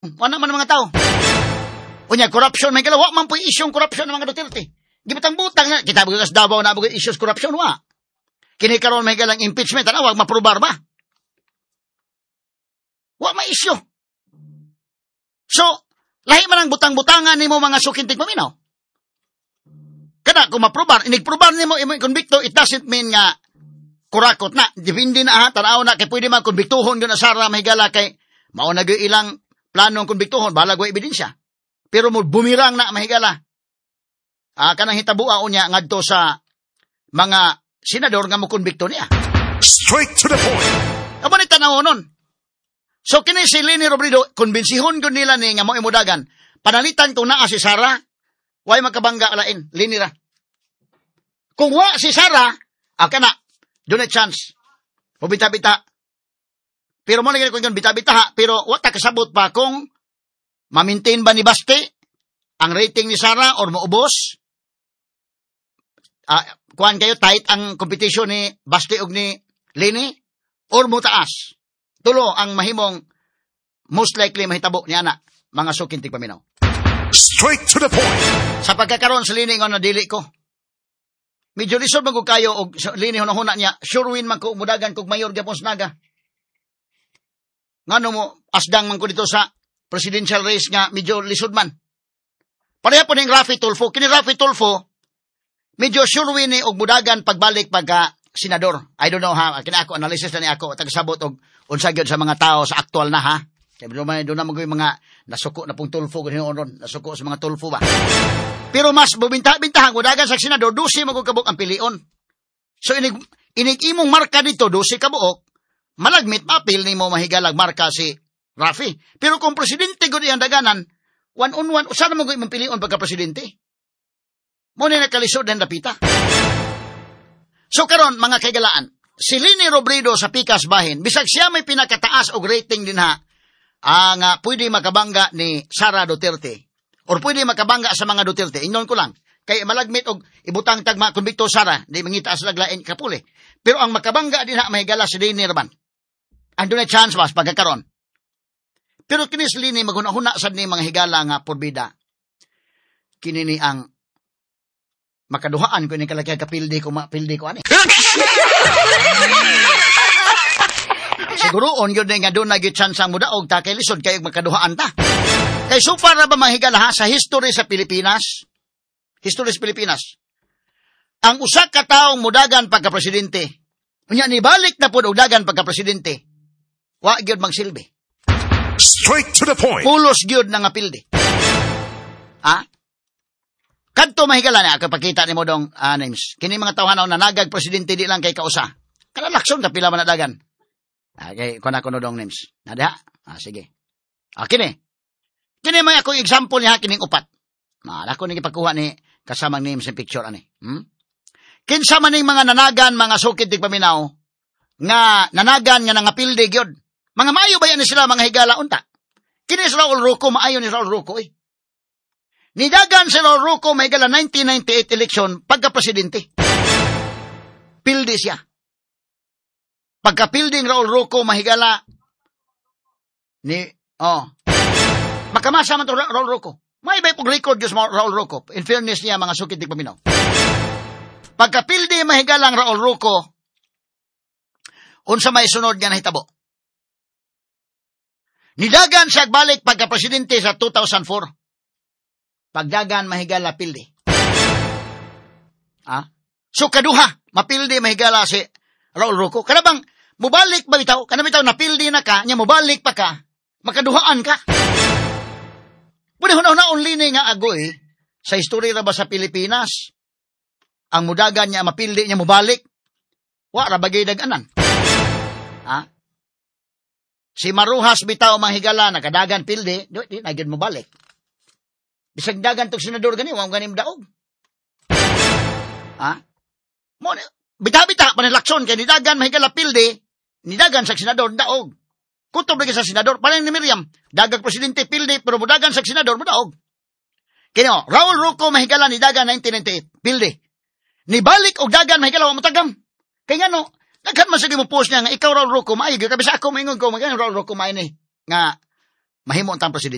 Wala man ang mga tao. Unya, corruption, may wa man po'y isyong corruption ng mga Duterte. Gibutang-butang na. Kita ba sa Davao na mga issues corruption, wa. Kini karon may galang impeachment, ano, wag maprobar ba? Wa may issue. So, lahi man ang butang-butangan nimo, mga suking tigpaminaw. Kada kung maprobar, inigprobar nimo imo konbikto, it doesn't mean nga kurakot na. Depende na ha, tanaw na kay pwede man konbiktuhon gyud na Sara, mahigala, kay mao na gyud ilang planong konbiktuhon, balag wa ebidensya. Pero mo bumirang na, mahigala. Ah, kanang hitabua unya ngadto sa mga senador nga mo konbikto niya. Straight to the point. Amo ni tanaw nun. So kini si Leni Robredo, konbensihon gyud nila ni nga mo imudagan. Panalitan kung naa si Sara, way makabangga lain, Leni ra. Kung wa si Sara, ah, kana, doon na chance. Mubita-bita. Pero mo lagi ko yung bita-bita ha, pero wa ta kasabot pa kung ma-maintain ba ni Baste ang rating ni Sara or maubos. Ah, kuan kayo tight ang competition ni Baste og ni Leni or mutaas. Tulo ang mahimong most likely mahitabo niya na, mga suking tigpaminaw. Straight to the point. Sa pagkakaroon sa Leni nga dili ko. Medyo lisod man ko kayo og sa Leni hunahuna niya, sure win man ko mudagan kog mayor gyapon sa Naga. Ngano mo asdang man ko dito sa presidential race nga medyo lisod man. Pareha po ning Raffy Tulfo. Kini Raffy Tulfo, medyo sure win ni og mudagan pagbalik pagka senador. I don't know ha, kini ako analysis na ni ako, tagsabot og unsa gyud sa mga tao sa aktual na ha. Kaya doon na mga mga nasuko na pong Tulfo ganyan ron, nasuko sa mga Tulfo ba. Pero mas bubinta-bintahan mudagan sa senador, 12 man kabuk ang pilion. So inig imong marka dito 12 ka buok, malagmit mapil nimo, mahigalag, marka si Raffy. Pero kung presidente gud iyang daganan, one on one, usa na mo imong pilion pagka presidente. Mo ni nakalisod ng dapita. So karon, mga kaigalaan, si Leni Robredo sa Pikas bahin, bisag siya may pinakataas og rating din ha, ang pwede makabangga ni Sara Duterte or pwede makabangga sa mga Duterte. Ingnon ko lang, kay malagmit og ibutang tagma konbikto Sara, di mangita sa laglain kapuli. Pero ang makabangga din ha, mahigala, si Leni raman. Ang dunay chance mas pagkakaron. Pero kini si Leni maghuna-huna sad ni, mga higala, nga porbida. Kini ni ang makaduhaan ko ni kalaki kapildi ko mapildi ko ani. Siguro on gyud nga doon na gyud chance ang mudaog ta kay lisod kay makaduhaan ta. Kay so far ra ba, mahigala ha, sa history sa Pilipinas? History sa Pilipinas. Ang usa ka taong mudagan pagka presidente, unya nibalik na pud og dagan pagka presidente, wa gyud magsilbi. Straight to the point. Pulos gyud na nga pildi. Ha? Kadto, mahigala na, kapakita ni mo dong names. Kini mga tawhanaw na nagag presidente di lang kay kausa. Kada Lacson kapila man na dagan. Okay, kuha na ko no dong names. Na diha? Ah, sige. Ah, kini. Kini may ako example niya kining upat. Maala ko ni gipakuha ni kasamang names and picture ani. Kinsa man ning mga nanagan, mga sukid tigpaminaw, nga nanagan nga nangapildi gyud. Mga maayo ba yan sila, mga higala, unta? Kini si Raul Roco, maayo ni Raul Roco eh. Nidagan si Raul Roco, mahigala, 1998 election pagka-presidente. Pildi siya. Pagka-pilding Raul Roco, mahigala, ni, oh, makamasa man to Raul Roco. May bay pong record yung Raul Roco. In fairness niya, mga sukid tigpaminaw. Pagkapildi, mahigalang, Raul Roco, unsa may sunod nga nahitabo? Nidagan siya balik pagka-presidente sa 2004. Pagdagan, mahigala, pildi. Ah? So kaduha, mapildi, mahigala, si Raul Roco. Kana bang mubalik ba bitaw? Kana bitaw napildi na ka, nya mubalik pa ka, makaduhaan ka. Pwede huna-huna lini nga agoy sa istorya ra ba sa Pilipinas? Ang mudagan niya mapildi niya mubalik. Wa ra bagay daganan. Ha? Si Marujas bitaw, manghigala, nakadagan pildi, di na gyud mobalik. Bisag dagan tog senador gani, wa gani daog. Ha? Mo bita-bita pa ni Lacson kay nidagan, mahigala, pildi, nidagan sa senador daog. Kutob lagi sa senador, parang ni Miriam, dagag presidente pildi pero mudagan sa senador modaog. Kino, Raul Roco, mahigala, nidagan 1998, pildi. Nibalik og dagan, mahigala, wa motagam. Kay ngano, daghan man sige mo post niya nga ikaw Raul Roco maayo gyud kabisa ako maingon ko magano Raul Roco maayo ni nga Mahimo ang presidente.